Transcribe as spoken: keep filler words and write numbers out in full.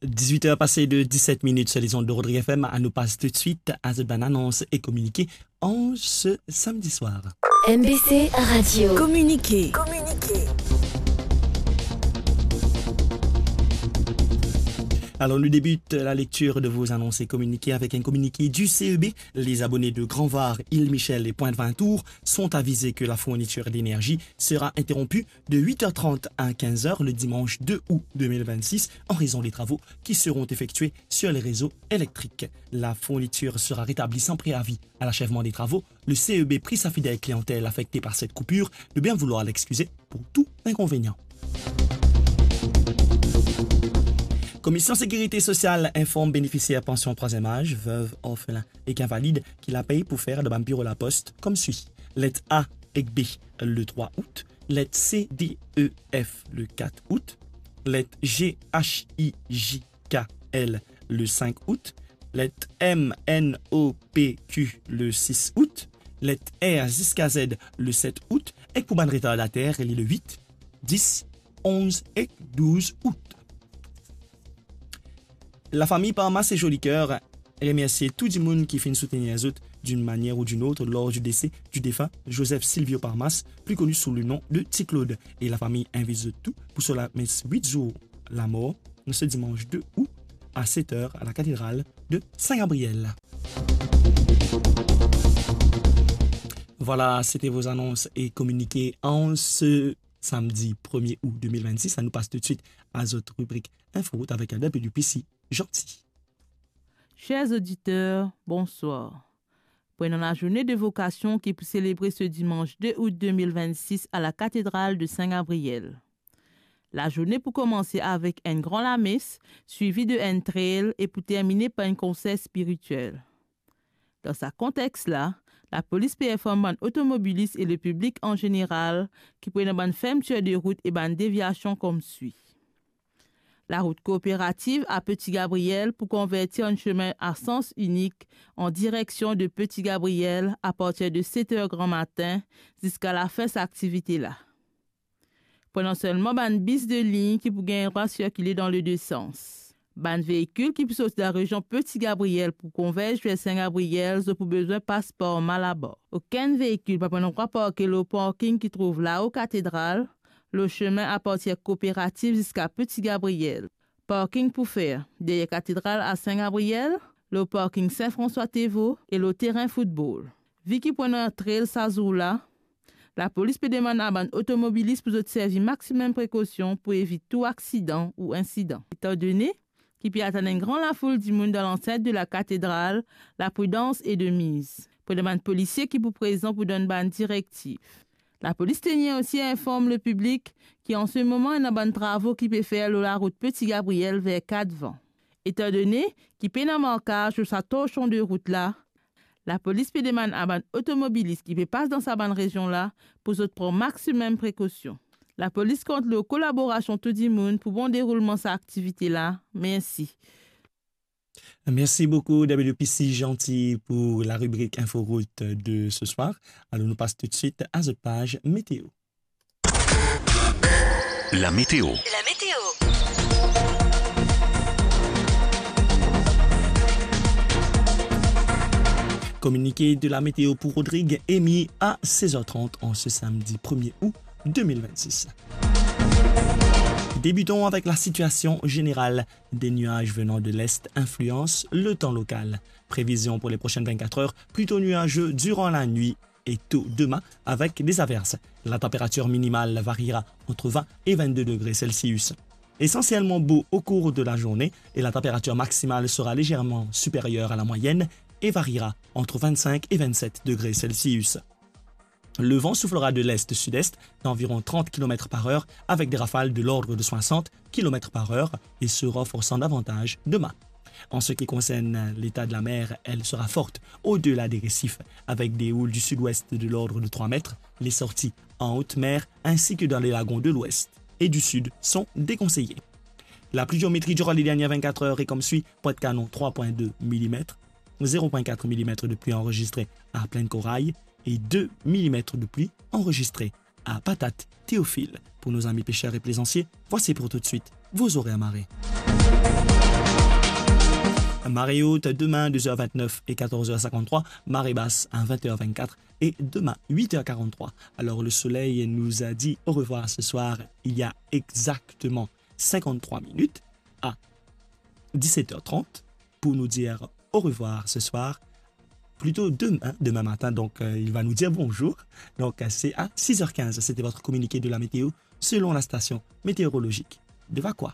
Dix-huit heures passées de dix-sept minutes sur les ondes de Rodrigue F M. Anou pas tout de suite à zot bann anons e kominike an se samedi soir. M B C Radio. Communiqué. Communiqué. Alors, nous débute la lecture de vos annonces et communiqués avec un communiqué du C E B. Les abonnés de Grand Var, Île Michel et Pointe Vintour sont avisés que la fourniture d'énergie sera interrompue de huit heures trente à quinze heures le dimanche deux août deux mille vingt-six en raison des travaux qui seront effectués sur les réseaux électriques. La fourniture sera rétablie sans préavis. À l'achèvement des travaux, le C E B prie sa fidèle clientèle affectée par cette coupure de bien vouloir l'excuser pour tout inconvénient. Commission Sécurité Sociale informe bénéficiaire pension troisième âge, veuve, orphelin ek invalid ki lapey pou fer dan bann biro lapos koumsi: let A ek B le trois août, let C, D, E, F le quatre août, let G, H, I, J, K, L le cinq août, let M, N, O, P, Q le six août, let R ziska Z le sept août, ek pou bann retardataire, li le huit, dix, onze ek douz août. Lafami Parmas e Jolicoeur remersie tou dimoun ki finn soutenir zot d'une manière ou d'une autre lors du décès du défunt Joseph Silvio Parmas, plus connu sous le nom de Ti Claude. E lafami invit zot tou pou so lamès huit zour lamor, ce dimanche deux août à sept heures à la cathédrale de Saint-Gabriel. Voilà, c'était vos annonces et communiqués en ce samedi premier août deux mille vingt-six. Anou pas tout de suite à zot ribrik Info Route avec W P C Gentil. Chers auditeurs, bonsoir. Pou ena lazourne de vokasion ki pou selebre se dimanch de out de mil vennsis a la katedral de Sin Gabriel. Lazourne pou komanse avek enn gran lames, swivi de enn trail e pou termine par enn konser spiritiel. Dan sa kontex la, lapolis pe inform bann otomobilis e lepiblik an zeneral ki pou ena bann fermtir de rout e bann deviasion koumswi. Larout Kooperativ a Petit Gabriel pou konverti an sime a sans inik an direksion de Petit Gabriel apartir de set er granmatin ziska lafin sa aktivite la. Pou ena selman bann bis de lign ki pou gagn drwa sirkile dan le de sans. Bann veikil ki pou sorti dan rezion Petit Gabriel pou konverz ver Sin Gabriel, zot pou bizin pas par Malabar. Okenn veikil pa pou ena drwa parke lor parking ki trouv lao katedral, lor sime apartir Kooperativ ziska Petit Gabriel. Parking pou fer deryer katedral a Sin Gabriel, lor parking Sin Franswa Tevo e lor terin foutbol. Vi ki pou ena trail sa zour la, lapolis pe demann a bann otomobilis pou zot servi maximum prekosion pou evit tou aksidan ou insidan. Etan done ki pe atann enn gran lafoul dimoun dan lansint de la katedral, lapridans e de miz. Pou ena bann polisie ki pou prezan pou donn bann direktiv. Lapolis tenir osi inform lepiblik ki an se moman ena bann travo ki pe fer lor larout Petit Gabriel ver Katvan. Etan done ki pena markaz lor sa torsion de rout la, lapolis pe demann a bann otomobilis ki pe pas dan sa bann rezion la pou zot pran maximum prekosion. Lapolis kont lor kolaborasion tou dimoun pou bon deroulman sa aktivite la. Mersi. Merci beaucoup, W P C Gentil, pour la rubrique Info Route de ce soir. Alors, nous passons tout de suite à notre page météo. La météo. La météo. Communiqué de la météo pour Rodrigue émis à seize heures trente en ce samedi premier août deux mille vingt-six. Débutons avec la situation générale. Des nuages venant de l'est influencent le temps local. Prévision pour les prochaines vingt-quatre heures, plutôt nuageux durant la nuit et tôt demain avec des averses. La température minimale variera entre vingt et vingt-deux degrés Celsius. Essentiellement beau au cours de la journée et la température maximale sera légèrement supérieure à la moyenne et variera entre vingt-cinq et vingt-sept degrés Celsius. Le vent soufflera de l'est-sud-est d'environ trente kilomètres par heure avec des rafales de l'ordre de soixante kilomètres par heure et se renforçant davantage demain. En ce qui concerne l'état de la mer, elle sera forte au-delà des récifs avec des houles du sud-ouest de l'ordre de trois mètres. Les sorties en haute mer ainsi que dans les lagons de l'ouest et du sud sont déconseillées. La pluviométrie durant les dernières vingt-quatre heures est comme suit: Pointe-Canon, trois point deux millimètres, zéro point quatre millimètres de pluie enregistrée à Plaine-Corail et deux millimètres de pluie enregistrée à Patate-Théophile. Pour nos amis pêcheurs et plaisanciers, voici pour tout de suite vos horaires marée. Marée haute demain, deux heures vingt-neuf et quatorze heures cinquante-trois. Marée basse à vingt heures vingt-quatre et demain, huit heures quarante-trois. Alors, le soleil nous a dit au revoir ce soir, il y a exactement cinquante-trois minutes, à dix-sept heures trente, pour nous dire au revoir ce soir. Plutôt demain, demain matin, donc, euh, il va nous dire bonjour. Donc, euh, c'est à six heures quinze. C'était votre communiqué de la météo selon la station météorologique de Vacoas.